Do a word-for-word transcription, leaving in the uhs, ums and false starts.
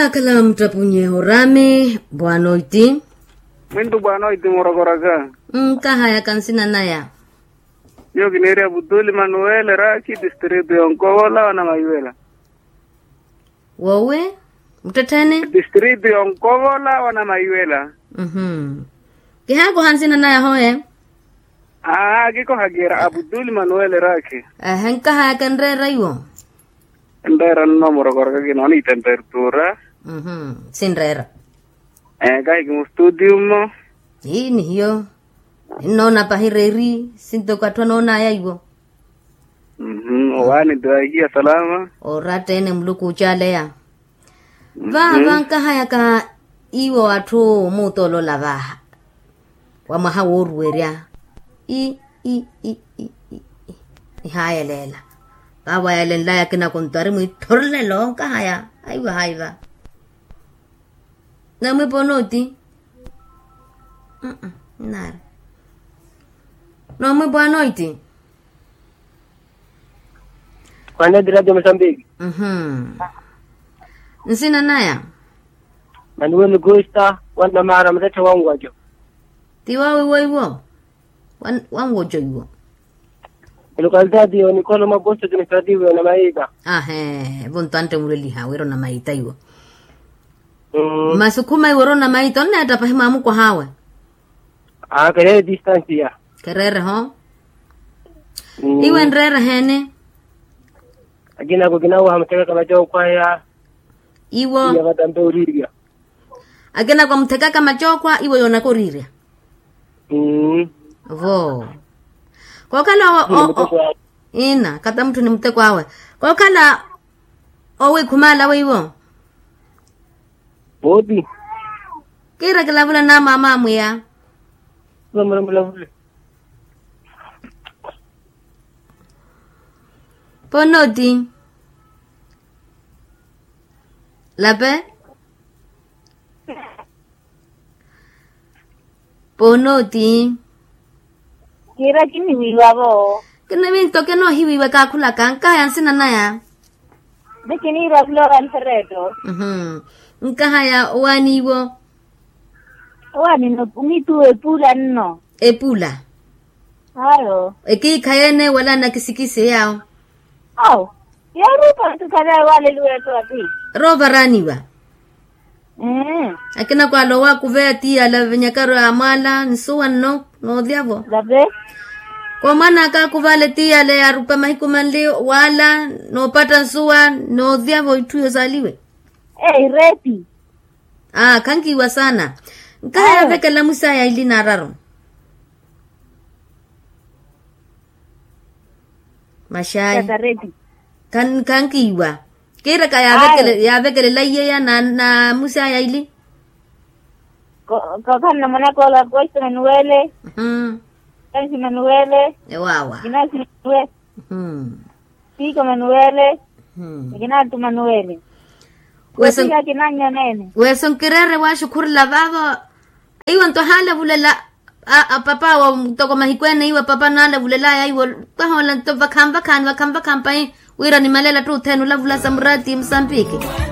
Akhala muttepunye orami bwanoiti. Mwintu bwanoiti murokoraka. Nkahayaka nsina naya. Nyuwo kiniiri abutuli manuwele raki distritu yonkovola wana mayiwela. Wowi muttettheni. Distritu yonkovola wana mayiwela. Kihaakoha nsina naya hoye. Aa kikoha kira abutuli manuwele raki. Ehe nkahayaka enreera iwo. Enreera nno murokoraka kinoona itemperatura. Sinreera. Kahi kimustudio mmo. Ii nihiyo. Nnoona pahi reeri sintoko atthu anoonaya iwo. Owaani twahiya salama. Oratta ene muluku ocaleya. Vaava nkahayaka iwo atthu omuuta olola vaha wa mwaha wooruwerya. I i i i i ihayeleela. Vaavo ayalenlaya akina konto ari mwiithorlelo nkahaya. Aiwa haiva. Namwipa onooti. Nnaari. Noomwipa onooti. Kwaneti radio mosambiki. Nsina naya. Manuweli kusta wanamara mutette wanwajo. Ti wawiwo iwo. Wanwojo iwo. Elokalitaati yo nikolo mwa posto administrativo yona maita. Ahe vonto antte mulweliha wira ona maita iwo. Masi okhuma iwo ori ona maita onneetta pahi mwamukwah'awe. Aa kereere distansiya. Kereere ho. Iwe enreere heene. Akinako kinawaha muthekaka macooko aya. Iwo. Iya vatampe orirya. Akinako amuthekaka macooko iwe yoonaka orirya. Vo. Kookhala owo. Ina kata mutthu ni muteko awe. Kookhala owikhumala weiwo. Oti. Kiira kilavula na maama amwiya. Mulavule. Ponoti. Lape. Ponoti. Kiira kiniwiiwa vo. Kiniwinto kinoohiwiiwa kaakhulaka nkahaya nsina naya. Ni kiniira flora nfereto. Nkahaya owaani iwo. Owaani no nitu epula nno. Epula. Ayo. Ekiikha yeene wala nakisikisi yaawo. Awo. Yoorupa ntu khale waaleliwa eto ati. Roovaraniwa. Akina kwaala owakuveya tiyala venyakaru amwaala nsuwa nno. Noolyavo. Komwana aka akuvaale tiyala yaarupa mahiku manli waala noopatta nsuwa noolyavo itthu yosaaliwe. Eireti. Aa khankiiwa saana. Nkaha yaavekela mwisaya ili naararu. Maxayi. Khankiiwa. Kiiraka yaavekelela iyeya na mwisaya ili. Kookhala namwanaka ola kosta manuwele. Kansi manuwele. Ewawa. Kinasi manuwele. Tiko manuwele. Ekina attu manuwele. Weso nkireere waaxukhurela vaavo. Iwe nto haalavulela. Apapa wa toko mahiku ene iwe apapa naalavulelaya iwe. Tahoola nto vakhanvakhaani vakhanvakhaani pahi wira nimalela ttuthene olavula samurati musambiki.